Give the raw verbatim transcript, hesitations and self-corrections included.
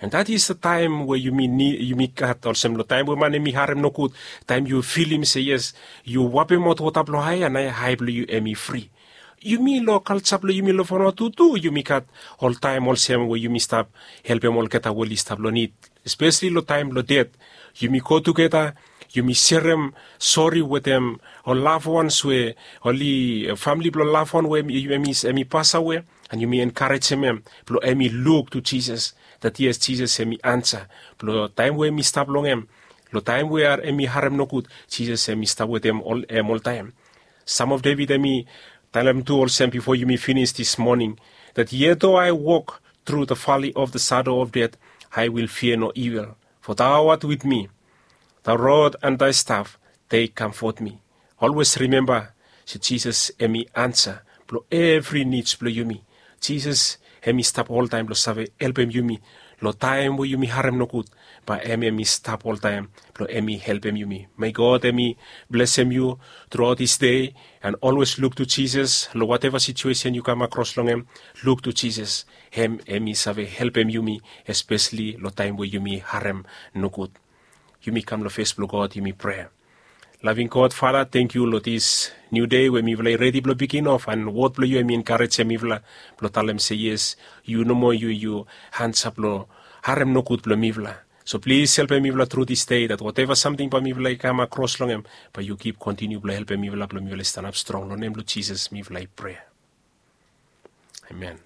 And that is the time we yumi ni yumi gat olsem long taim we man em i harem nogud, taim yu filim se yes, yu wapemaot wota blong hae, and naoia hae blong yu em i fri. Yumi long kalja blong yumi long Vanuatu tu yumi gat oltaim olsem we yumi stap helpem olgeta we oli stap long nid, espeseli long taim blong ded. Yumi go tugeta, yumi serem sori wetem ol lafwans we oli famili blong lafwan we em i pasawe, and yumi enkarejem em blong em i luk tu Jisas, that yes, Jisas em i ansa blong taim we em i stap long em, long taim we em i harem nogud, Jisas em i stap wetem em oltaim. Sam of Devit em i talem tu olsem bifo yumi finis dis moning, that yet though I walk through the valley of the shadow of death, I will fear no evil, for thou art with me. Thy rod and thy staff, they comfort me. Olwes rimemba se Jisas em i ansa blong evri nids blong yumi. Jisas em i stap oltaim blong save helpem yumi long taim we yumi harem nogud. Bae em em i stap oltaim blong em i helpem yumi. Mei God em i blesem yu truaot dis dei, and olwes luk tu Jisas long wateva situesen yu kam akros long em. Luk tu Jisas, em em i save helpem yumi, espeseli long taim we yumi harem nogud. Yumi kam long fes blong God, yumi prea. Laving God, Fada, tenkyu long dis niu dei we mifala i redi blong bigin of, and wod blong yu em i enkarejem mifala blong talem se yes, yu nomo yu yu ansa blong harem nogud blong mifala. So plis helpem mifala tru dis dei, dat wateva samting bae mifala i kam akros long em, bae yu kip kontiniu blong helpem mifala blong mifala i stanap strong. Long nem blong Jisas mifala i prea. Amen.